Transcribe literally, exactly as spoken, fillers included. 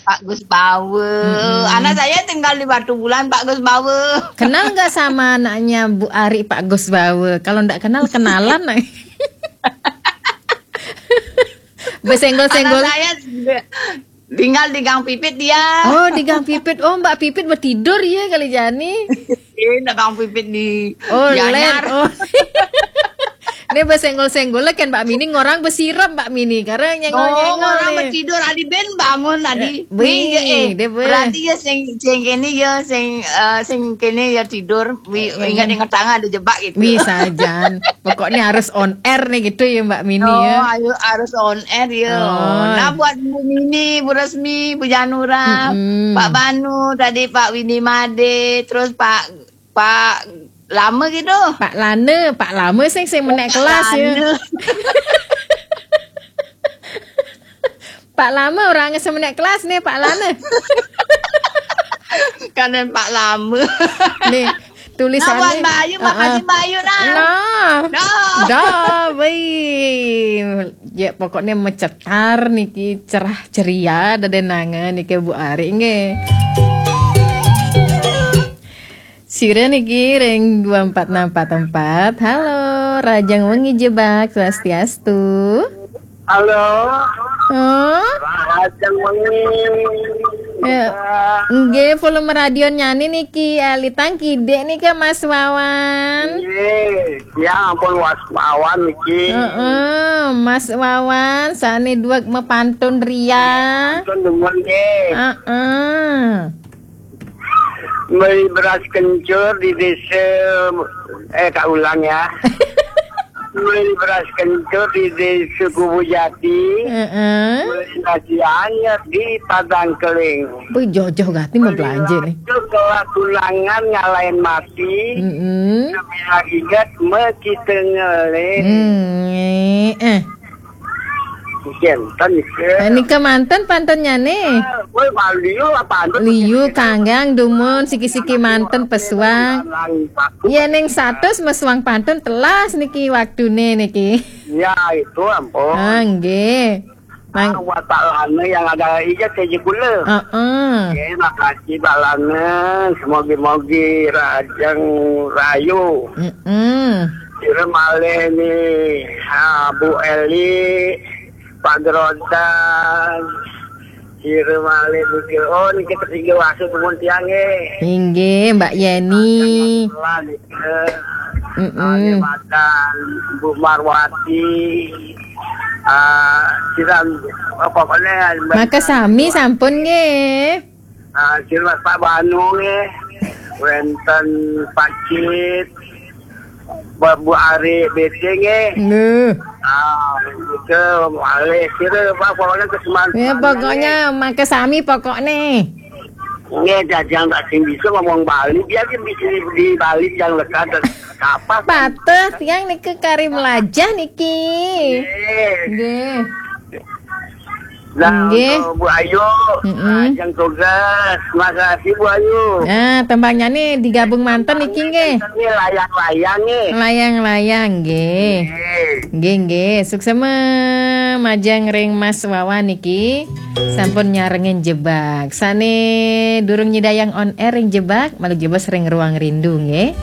Pak Gus Bawe. Mm-mm. Anak saya tinggal di Batu Bulan, Pak Gus Bawe. Kenal nggak sama anaknya Bu Ari, Pak Gus Bawe? Kalau nggak kenal, kenalan. Besenggol-senggol. Anak saya tinggal di Gang Pipit dia. Oh, di Gang Pipit. Oh, Mbak Pipit bertidur ya kali Jani. Ini Gang Pipit di Oh, Gianyar. Oh. Ini besenggol-senggol kan Mbak Mini, ngorang besirep Mbak Mini karena nyengol-nyengol. Oh, orang nih. Bertidur, adi ben bangun, adi. Eh, wih, eh, dia berarti ya sing sing kene ya sing uh, sing kene ya tidur. Wih, ya, ingat-ingat tangan ada jebak gitu. Bisa jan. Pokoknya harus on air nih gitu ya Mbak Mini. Oh, ya, ayo harus on air ya. Oh. Nah, buat Bu Mini, Bu Resmi, Bu Janura, mm-mm, Pak Banu, tadi Pak Windy Made, terus Pak Pak Lama gitu. Pak Lana, Pak Lama sing sing menek kelas ya. Pak Lama orang semenek kelas nih Pak Lana. Kanan Pak Lama. Nih, tulisannya. Nah, buat Bayu, makasih Bayu nah. Nah. Dah. Dah, baik. Ya pokoknya mecetar niki, cerah ceria, ada denangan niki Bu Ari nggih. Sira niki ring dua empat enam empat empat. Halo, Rajang Wengi Jebak, swastiastu. Halo. Oh? Rajang Wengi. Ya. Nggih, volume radio nyane niki, eh, litang kidik nika Mas Wawan. Nggih, ya ampun Mas Wawan niki. Heeh, Mas Wawan, sane duwek mepantun ria. Pantun demen nggih. Heeh. Beli beras kencur di desa, eh, tak ulang ya. Beli beras kencur di desa Kubu Jati. Heeh. Beli nasi anyar di Padang Keling. Wih, joh-joh gati mau belanja nih. Itu kelas ulangan ngalahin mati. Heeh. Bila ingat me kita ngelih. Hmm, eh. Jantan nika. Eh, nika manten pantennyane. Kowe liu apa antun? Liu kanggang dumun siki-siki manten pesuang. Yen ning satus mesuang pantun telas niki waktune niki. Ya, itu ampun. Ah, nggih. Mang- Ah, watak lana yang ada ijat saja kula. Heeh. Nggih, makasih Pak Lana. Semogi-mogi rajang rayu. Heeh. Kira malih ni, ha, Bu Eli, Pak Gerodan, kira malih mikir, oh, niki ketiga wasu dumun tiang nggih. Inggih, Mbak Yeni. Lah, niki. Mm-mm. Kalimantan, Bu Marwati, ah, kira, oh, pokoknya Mbak Maka sami sampun nggih. Ah, sira Pak Banu nggih. Wenten Pak Cit, Bu, Bu Ari B C nggih. Nggih. Ah, itu malih sira Pak pokoknya kesemangat. Ya pokoknya maka sami pokoknya. Nggih, jajang tak sing bisa ngomong Bali, biar dia bisa di Bali yang lekat dan apa. Patuh tiang niki kari melajah niki. Nggih. Nggih. Nah, nggih. Untuk Bu Ayu, mm-mm, ajang tugas. Makasih Bu Ayu. Nah, tembangnya nih digabung manten niki nggih. Ini layang-layang nih. Layang-layang nggih. Nggih. Nggih, nggih. Suksema majeng ring Mas Wawan niki. Sampun nyarengin jebak. Sane durung nyidayang on air ring jebak, malu jebos ring ruang rindu nggih.